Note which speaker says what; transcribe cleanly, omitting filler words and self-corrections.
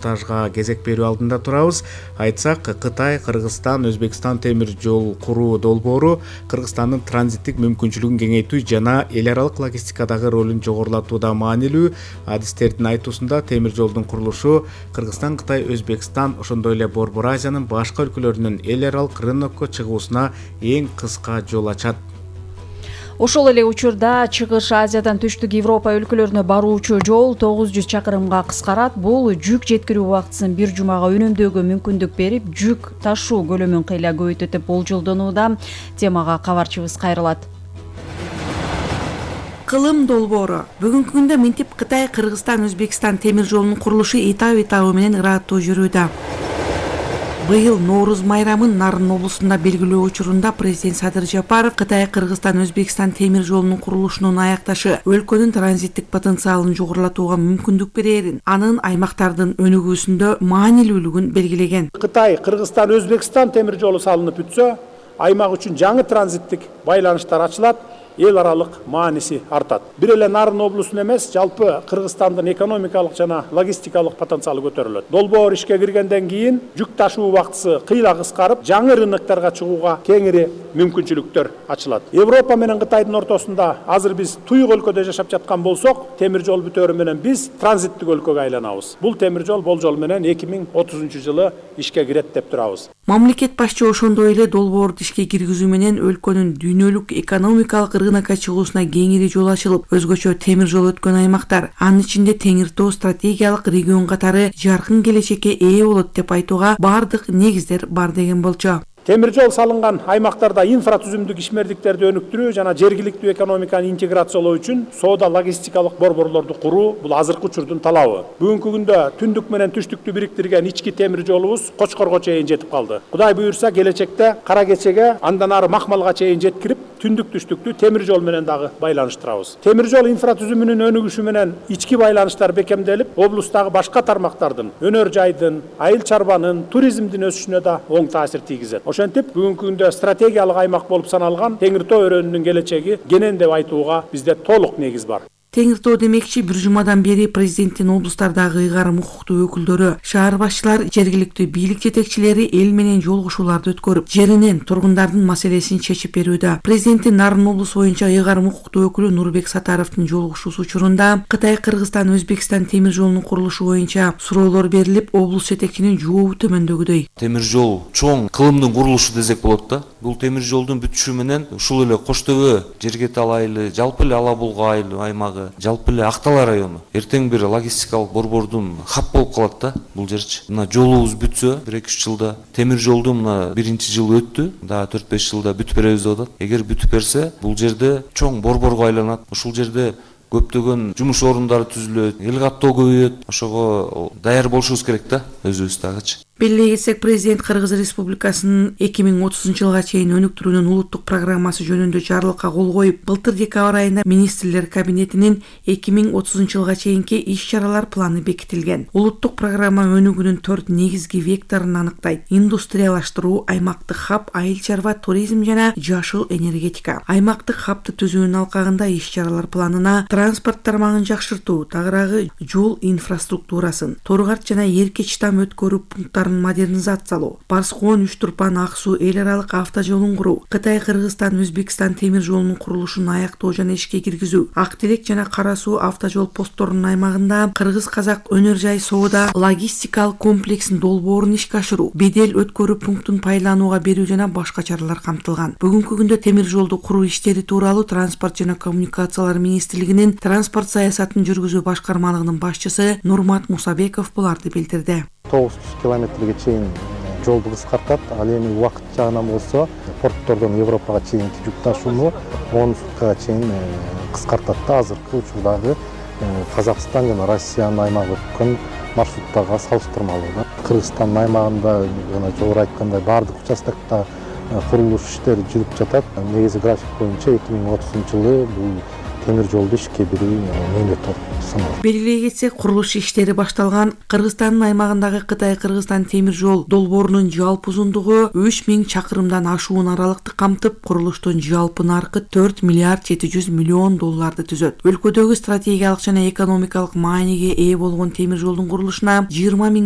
Speaker 1: Тажга кезек берүү алдында турабыз. Айтсак, Кытай, Кыргызстан, Өзбекстан темир жол куруу долбоору Кыргызстандын транзиттик мүмкүнчүлүгүн кеңейтүү жана эл аралык логистикадагы ролун жогорулатууда маанилүү. Адистердин айтуусунда темир жолдун курулушу Кыргызстан, Кытай, Өзбекстан, ошондой эле Борбор Азиянын башка өлкөлөрүнүн эл аралык рынокко чыгуусуна эң кыска жол ачат.
Speaker 2: Ошол эле учурда Чыгыш Азиядан түштүк Европа өлкөлөрүнө баруучу жол 900 чакырымга кыскарат. Бул жүк жеткирүү убактысын бир жумага үнөмдөөгө мүмкүндүк берип, жүк ташуу көлөмүн кыйла көбөйтөт деп болжолдонууда. Темага кабарчыбыз кайрылат.
Speaker 3: Кылым долбоору. Бүгүнкү күндө минтип Кытай, Кыргызстан, Өзбекстан темир жолунун курулушу этап менен ыраттуу жүрүүдө. Быйыл Норуз майрамын Нарын облусунда белгилөө учурунда президент Садыр Жапаров Кытай, Кыргызстан, Өзбекстан темир жолунун курулушунун аякташы өлкөнүн транзиттик потенциалын жогорулатууга мүмкүндүк берерин, анын аймактардын өнүгүүсүндө маанилүүлүгүн белгилеген.
Speaker 4: Кытай, Кыргызстан, Өзбекстан темир жолу салынып бүтсө, аймак үчүн жаңы транзиттик байланыштар ачылат, эл аралык мааниси артат. Бир эле Нарын облусунун эмес, жалпы Кыргызстандын экономикалык жана логистикалык потенциалы көтөрүлөт. Долбоор ишке киргенден кийин жүк ташуу убактысы кыйла кыскарып, жаңы рынокторго чыгууга кеңири мүмкүнчүлүктөр ачылат. Европа менен Кытайдын ортосунда азыр биз туюк өлкөдө жашап жаткан болсок, темир жол бүтөөрү менен биз транзиттик өлкөгө айланабыз. Бул темир жол болжол менен 2030 жылы ишке кирет деп турабыз.
Speaker 3: Мамлекет башчы ошондой эле долбоорду ишке киргизүү менен өлкөнүн дүйнөлүк экономикалык рынокко чыгуусуна кеңири жол ачылып, өзгөчө темир жол өткөн аймактар, анын ичинде Теңир Тоо стратегиялык регион катары жаркын келечекке ээ болот деп айтууга бардык негиздер бар деген болчу.
Speaker 4: Темир жол салынган аймактарда инфратүзүмдүк ишмердиктерди өнүктүрүү жана жергиликтүү экономиканы интеграциялоо үчүн соода логистикалык борборлорду куруу бул азыркы учурдун талабы. Бүгүнкү күндө түндүк менен түштүктү бириктирген ички темир жолубуз Кочкорго чейин жетип калды. Кудай буйрса, келечекте Кара Кечеге, андан ары Макмалга чейин жеткирип, түндүк түштүктү темир жол менен дагы байланыштырабыз. Темир жол инфратүзүмүнүн өнүгүшү менен ички байланыштар бекемделип, облустагы башка тармактардын, өнөр жайдын, айыл чарбанын, туризмдин өсүшүнө да оң таасир тийгизет. Ошентип, бүгүнкү күндө стратегиялык аймак болуп саналган Теңир Тоо өрөөнүнүн келечеги кенен деп айтууга бизде толук негиз бар.
Speaker 3: Теңир Тоо демекчи, бир жумадан бери президенттин облустардагы ыйгарым укуктуу өкүлдөрү, шаар башчылар, жергиликтүү бийлик жетекчилери эл менен жолугушууларды өткөрүп, жеринен тургундардын маселесин чечип берүүдө. Президенттин Нарын облусу боюнча ыйгарым укуктуу өкүлү Нурбек Сатаровдун жолугушуусу учурунда Кытай, Кыргызстан, Өзбекстан темир жолунун курулушу боюнча суроолор берилип, облус жетекчинин жообу төмөндөгүдөй.
Speaker 5: Темир жол чоң кылымдын курулушу десек болот да. Бул темир жолдун бүтүшү менен ушул эле Кош Төбө, Жергетал айылы, жалпы эле Ала Булга айылы аймагы, жалпы эле Актала району эртең бир логистикалык борбордун хаб болуп калат да бул жерчи. Мына жолубуз бүтсө 1-2 жылда, темир жолду мына биринчи жыл өттү, дагы 4-5 жылда бүтүп беребиз деп атат. Эгер бүтүп берсе, бул жерде чоң борборго айланат. Ушул жерде көптөгөн жумуш орундары түзүлөт, эл каттоо көбөйөт. Ошого даяр болушубуз керек да, өзүбүз дагычы.
Speaker 3: Белгилей кетсек, президент Кыргыз Республикасынын 2030 жылга чейин өнүктүрүүнүн улуттук программасы жөнүндө жарлыкка кол коюп, былтыр декабрь айында министрлер кабинетинин 2030 жылга чейинки иш-чаралар планы бекитилген. Улуттук программа өнүгүүнүн 4 негизги векторун аныктайт: индустриялаштыруу, аймактык хаб, айыл чарба, туризм жана жашыл энергетика. Аймактык хабты түзүүнүн алкагында иш-чаралар планына транспорт тармагын жакшыртуу, тагыраагы жол инфраструктурасын, Торгарт жана Эркеч там өткөрүү пункттарын модернизациялоо, Барскоон, Үч-Турпан, Ак-Суу эл аралык автожолун куруу, Кытай, Кыргызстан, Өзбекстан темир жолунун курулушун аяктоо жана ишке киргизүү, Ак-Телек жана Кара-Суу автожол постторунун аймагында кыргыз-казак өнөр жай соода логистикалык комплексин долбоорун ишке ашыруу, бедел өткөрүү пунктун пайдаланууга берүү жана башка чаралар камтылган. Бүгүнкү күндө темир жолду куруу иштери тууралуу Транспорт жана коммуникациялар министрлигинин транспорт саясатын жүргүзүү башкармалыгынын башчысы Нурмат Мусабеков буларды билдирди.
Speaker 6: 900 километрге чейин жолду кыскартат. Ал эми убакыт жагынан болсо, порттордон Европага чейинки жүк ташууну 10 суткага чейин кыскартат да. Азыркы учурдагы Казакстан жана Россиянын аймагы өткөн маршруттарга салыштырмалуу да. Кыргызстандын аймагында жана жогору айткандай бардык участокто курулуш иштери жүрүп жатат. Негизи график боюнча 2030 жылы бул темир жолду ишке берүү мөөнөтү саналат.
Speaker 3: Белгилей кетсек, курулуш иштери башталган Кыргызстандын аймагындагы Кытай-Кыргызстан темир жол долбоорунун жалпы узундугу 3000 чакырымдан ашуун аралыкты камтып, курулуштун жалпы наркы 4 миллиард 700 миллион долларды түзөт. Өлкөдөгү стратегиялык жана экономикалык мааниге ээ болгон темир жолдун курулушуна 20 миңден